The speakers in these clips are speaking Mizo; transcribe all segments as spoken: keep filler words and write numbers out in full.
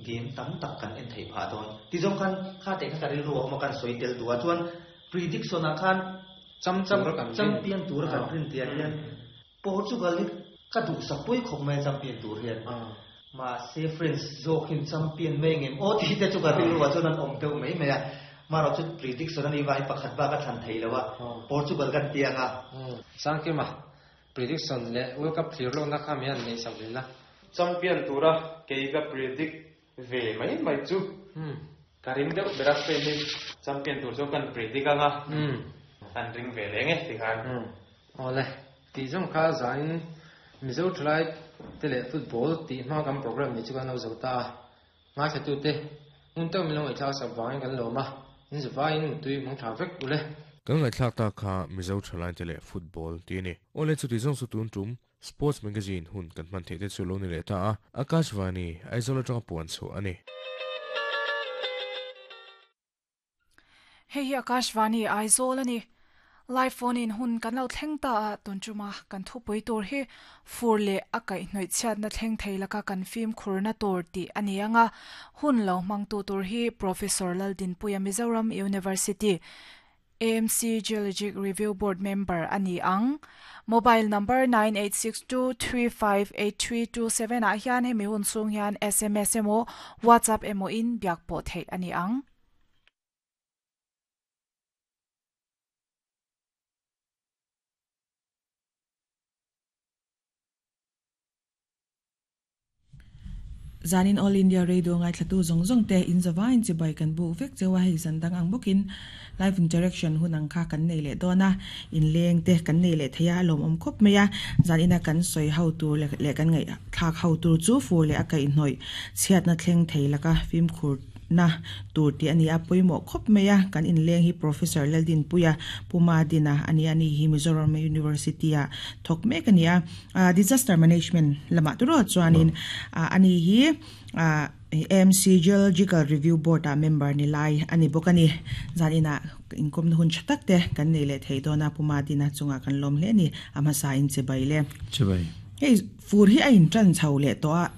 Game tam tak kan en thei pha don ti jong khan kha te kha ri ru ma kan soi tel duwa chuan prediction a khan cham cham champion tur kan rin tia hian Portugal hi ka du sak pui khop mai champion tur hian ma se France zo khin champion mai ngem o ti te chu ka ri ru chuan an om teu mai mai a ma ro chu prediction ani vai pakhat ba ka than thei lawa Portugal kan tianga sangke ma prediction le World Cup clear lo na kha mi an nei sak na champion tura kei ka predict ve mai mai chu karim deuh bera Spain hi champion tur chu kan predict anga an ring ve le nge ti khan ole ti jong kha zain Mizo try tele football ti ma kam program ni chu kan lo zo ta nga sa tu te un to mi lo ngai tha sa wang kan lo ma in zwain tui mong tha vek ule kan ngai thlak ta kha Mizo thalai tele football ti ni ole chu ti jong su tun tum Sports Magazine hun kan man the te chu lo ni le ta a Akashvani Aizawl atanga puan chu ani hei hi Akashvani Aizawl ani live phone in hun kan lo thleng ta a tunchuma kan thupui tur hi furle akai hnoi chhiat na thleng theilaka kan film khurna tur ti ani anga hun lo mang tu tur hi Professor Laldin Puia Mizoram University A M C Geologic Review Board member ani ang mobile number nine eight six two three five eight three two seven a hian hemi hun chung hian S M S emo WhatsApp emo in biak pawh theih ani ang. Zanin All India Radio ngai thlatu zong zong te in zawain chi bai kan bu vek chewa hei zandang ang bukin live interaction hunang kha kan nei le dona in leng te kan nei le theya lom om khop meya zanina kan soi how tu le le kan ngai thak how tu chu fu le akai hnoi chhiat na thleng theilaka fim khur na tur ti ani a poimo khop meya kan in leng hi Professor Laldin Puia Puma Dina ani ani hi Mizoram University a thok mek ani a disaster management lama turo chuanin ani hi A M C Geological Review Board a member ni lai ani bokani zanina inkom hun chatak te kan nei le theidona Puma Dina chunga kan lom hle ni ama sa in chebai le chebai hei fur hi a in tran chho le to a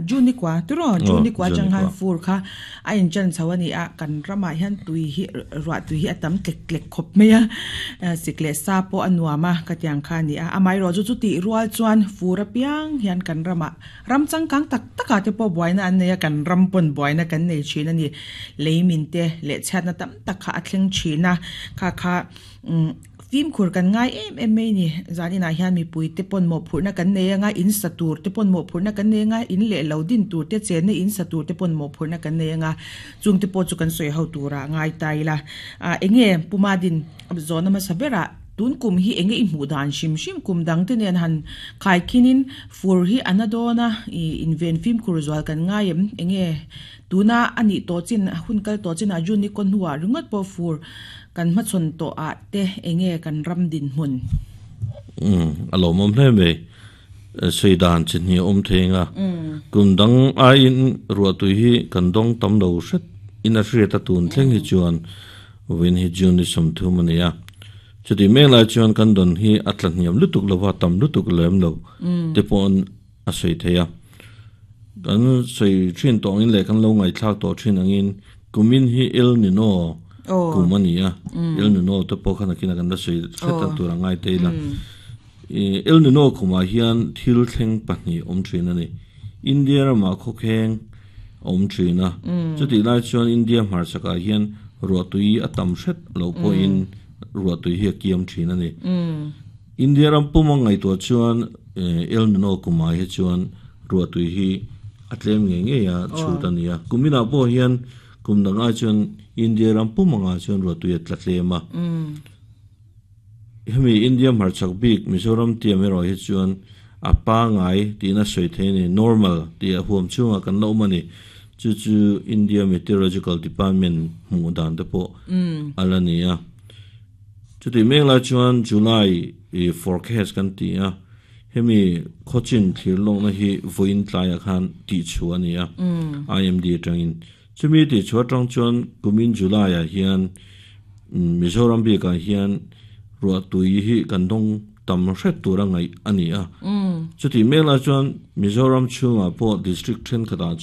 juni kwa turo juni kwa chang han fur kha a in tran chho ani a kan rama hian tui hi ruwa tui hi atam tlek tlek khop meya sikle sa po anuama ka tiang kha ni a amai ro chu chu ti rual chuan fur a piang hian kan rama ram changkang tak taka te po buaina an neia kan ram pon buaina kan nei thin ani leimin te le chhatna tam tak kha a thleng thina kha kha tim khur kan ngai em em mai ni zanina hian mi pui te pon mo phurna kan nei anga in satur te pon mo phurna kan nei anga in le lo din tur te chen in satur te pon mo phurna kan nei anga chung te po chu kan soi ho tura ngai tai la a enge Puma Din zona ma sabera tun kum hi enge i hmu dan shim shim kum dang te nen han khai khinin fur hi anadona i inven film khur zwal kan ngai em enge tuna ani to chin hun kal to chin a jun ni kon huwa ringot po fur kan ma chon to a te enge kan ram din hun um alo mom hle me sei dan chin hi om thenga kum dang a in ruwa tu hi kan dong tam lo hret in a hriat a tun thleng hi chuan win hi jun ni som thu mania chuti me lai chuan kan don hi atla hniam lutuk lova tam lutuk lem lo te pon a sei theya kan sei thin tong in le kan lo ngai thlak to thin angin kumin hi El Nino kumania El Nino te po khana kina kan da sei theta tura ngai te la El Nino kuma hian thil thleng pahnih om thin ani India rama khokheng om thina chuti lai chuan India hmar chaka hian ruatui atam hret lo po in ruatui hi kiam thin ani India ram puma ngai to chuan El Nino kuma hi chuan ruatui hi atlem nge nge ya chutania kumina po hian kumdanga chuan India ram puma nga chuan ruatui atlatlema hemi India hmarchak bik Mizoram ti amero hi chuan apa ngai tina soi theini normal ti a huam chunga kan lo mani chu chu India Meteorological Department hmu dan te po alania chuti mengla chuan July e forecast kan ti a hemi khochin thlir long na hi voin tlai khan ti chu ania I M D tangin chumi ti chu tang chuan kumin July a hian Mizoram bi ka hian ruwa tui hi kan dong tam hret tura ngai ani a chuti mengla chuan Mizoram chunga po district then khata